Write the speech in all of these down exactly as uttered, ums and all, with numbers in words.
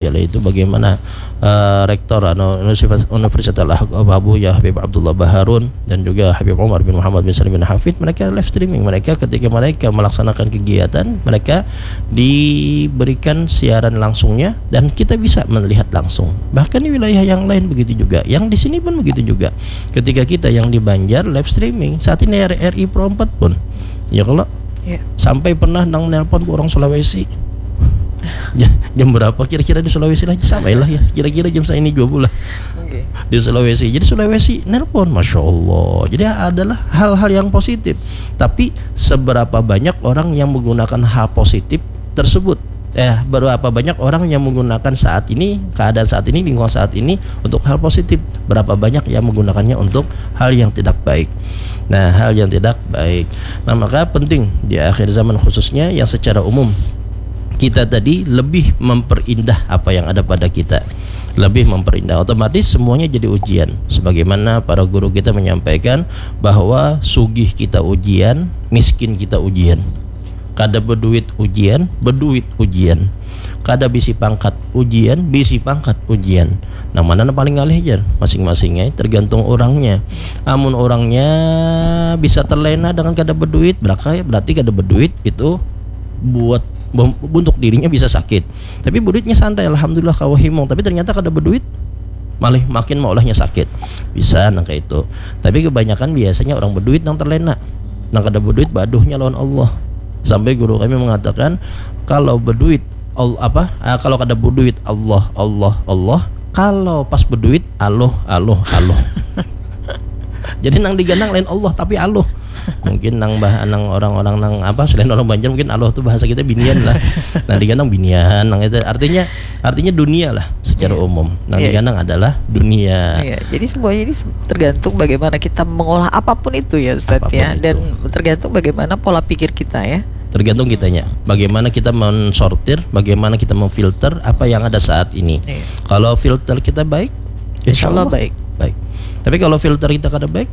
Yaitu bagaimana uh, rektor anu, Universitas Al Abuya Habib Abdullah Baharun dan juga Habib Umar bin Muhammad bin Salim bin Hafid, mereka live streaming. Mereka, ketika mereka melaksanakan kegiatan, mereka diberikan siaran langsungnya dan kita bisa melihat langsung. Bahkan di wilayah yang lain begitu juga. Yang di sini pun begitu juga. Ketika kita yang di Banjar live streaming, saat ini R R I Pro empat pun, ya kalau, ya, sampai pernah nang nelpon orang Sulawesi. Jam berapa kira-kira di Sulawesi lah? Sampai lah ya, kira-kira jam saya ini juga pula. Okay. Di Sulawesi. Jadi Sulawesi nelpon, masya Allah. Jadi adalah hal-hal yang positif. Tapi seberapa banyak orang yang menggunakan hal positif tersebut? Eh, berapa banyak orang yang menggunakan saat ini, keadaan saat ini, lingkungan saat ini untuk hal positif? Berapa banyak yang menggunakannya untuk hal yang tidak baik? Nah, hal yang tidak baik. Nah, maka penting di akhir zaman, khususnya yang secara umum, kita tadi lebih memperindah apa yang ada pada kita, lebih memperindah, otomatis semuanya jadi ujian. Sebagaimana para guru kita menyampaikan bahwa sugih kita ujian, miskin kita ujian, kada beduit ujian, beduit ujian, kada bisi pangkat ujian, bisi pangkat ujian. Nang mana nang paling ngalih jar? Masing-masingnya tergantung orangnya. Amun orangnya bisa terlena dengan kada beduit, berarti kada beduit itu buat untuk dirinya bisa sakit. Tapi beduitnya santai, alhamdulillah, kawa himung. Tapi ternyata kada beduit, malah makin maulahnya sakit. Bisa nang kayak itu. Tapi kebanyakan biasanya orang beduit nang terlena. Nang kada beduit baduhnya lawan Allah. Sampai guru kami mengatakan, kalau beduit Allah apa? Ah, kalau kada beduit Allah, Allah, Allah. Kalau pas beduit, Allah, Allah, Allah. Jadi nang diganang lain Allah tapi Allah. Mungkin nang bah nang orang-orang nang apa, selain orang Banjar, mungkin Allah tuh bahasa kita binian lah. Nang diganang binian, nang itu artinya artinya dunia lah secara, iya, umum. Nang, iya, diganang adalah dunia. Iya, jadi semuanya ini tergantung bagaimana kita mengolah apapun itu ya, Ustaz, apapun ya, itu. Dan tergantung bagaimana pola pikir kita ya. Tergantung kitanya. Bagaimana kita mensortir, bagaimana kita memfilter apa yang ada saat ini. Iya. Kalau filter kita baik, insya Allah baik. Baik. Tapi kalau filter kita kada baik,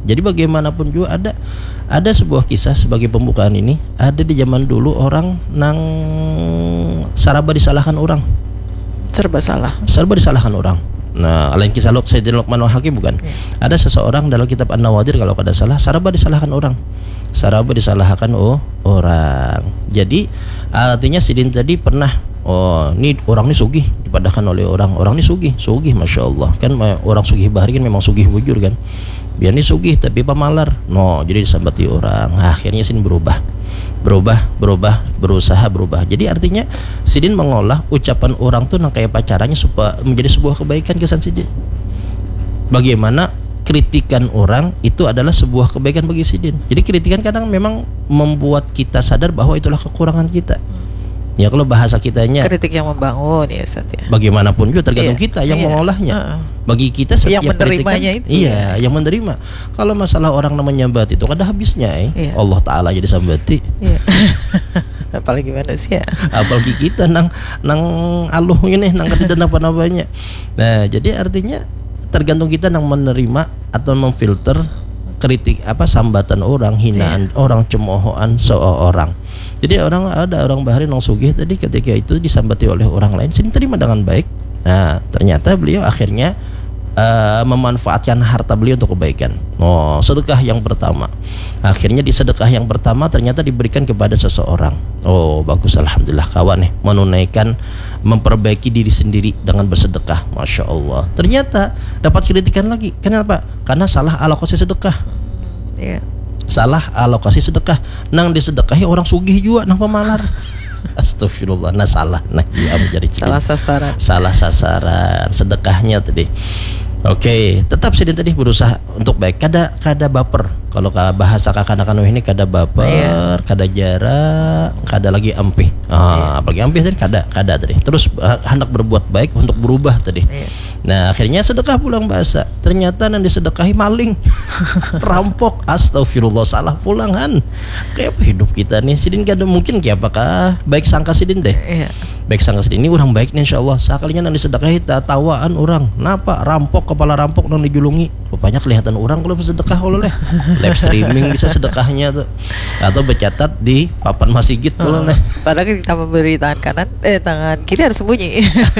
jadi bagaimanapun juga ada ada sebuah kisah sebagai pembukaan ini. Ada di zaman dulu orang nang saraba disalahkan orang. Serba salah. Serba disalahkan orang. Nah, lain kisah Luk Sayyidina Luqman Hakim bukan? Ya. Ada seseorang dalam kitab An-Nawadir kalau kada salah, saraba disalahkan orang. Saraba disalahkan, oh, orang. Jadi artinya sidin tadi pernah, oh, ni orang ni sugih, dipadahkan oleh orang, orang ni sugih, sugih, masya Allah. Kan orang sugih bahari kan memang sugih bujur kan. Biar ni sugih tapi pamalar. No, jadi disambati orang. Akhirnya sidin berubah. Berubah, berubah, berusaha berubah. Jadi artinya sidin mengolah ucapan orang tuh nang kayak pacarannya supaya menjadi sebuah kebaikan kesan sidin. Bagaimana kritikan orang itu adalah sebuah kebaikan bagi sidin. Jadi kritikan kadang memang membuat kita sadar bahwa itulah kekurangan kita. Ya, kalau bahasa kitanya, kritik yang membangun ya, Ustaz, ya. Bagaimanapun juga tergantung, iya, kita yang, iya, mengolahnya. Heeh. Bagi kita setiap yang menerimanya kritikan, itu, iya, ya, yang menerima. Kalau masalah orang namanya nyambat itu kada habisnya, eh. Iya. Allah Taala jadi sambati. Iya. Apalagi manusia. Apalagi kita nang nang aluh ini nang kada napa-napanya. Nah, jadi artinya tergantung kita nang menerima atau memfilter kritik apa, sambatan orang, hinaan, iya, orang, cemoohan seorang. Jadi orang, ada orang bahari nang sugih tadi, ketika itu disambati oleh orang lain, sini terima dengan baik. Nah, ternyata beliau akhirnya uh, memanfaatkan harta beliau untuk kebaikan. Oh, sedekah yang pertama. Akhirnya di sedekah yang pertama ternyata diberikan kepada seseorang. Oh, bagus, alhamdulillah, kawan nih menunaikan, memperbaiki diri sendiri dengan bersedekah. Masya Allah. Ternyata dapat kritikan lagi. Kenapa? Karena salah alokasi sedekah. Iya. Salah alokasi sedekah. Nang disedekahi orang sugih juga, nang pamalar. Astagfirullah. Nah, salah. Nah, iya, menjadi salah sasaran. Salah sasaran sedekahnya tadi. Oke, tetap sidin tadi berusaha untuk baik. Kada kada baper. Kalau bahasa kakanakan ini, kada baper, iya, kada jara, kada lagi ampih. Ah, iya, apalagi ampih tadi kada, kada tadi. Terus uh, hendak berbuat baik untuk berubah tadi. Iya. Nah, akhirnya sedekah pulang bahasa. Ternyata nang disedekahi maling. Rampok. Astagfirullah, salah pulang, han. Kayak apa hidup kita nih? Sidin kada mungkin kayak apakah baik sangka sidin deh. Iya. Baik sangka sidin ini orang baik nih, insya Allah. Sekalinya nang disedekahi tawaan orang. Napa? Rampok, kepala rampok nang dijulungi. banyak kelihatan orang kalau bersedekah kalau leh. Live streaming bisa sedekahnya tuh. Atau bercatat di papan masigit kalau leh. Padahal kita memberi tangan kanan, eh, tangan kiri harus sembunyi.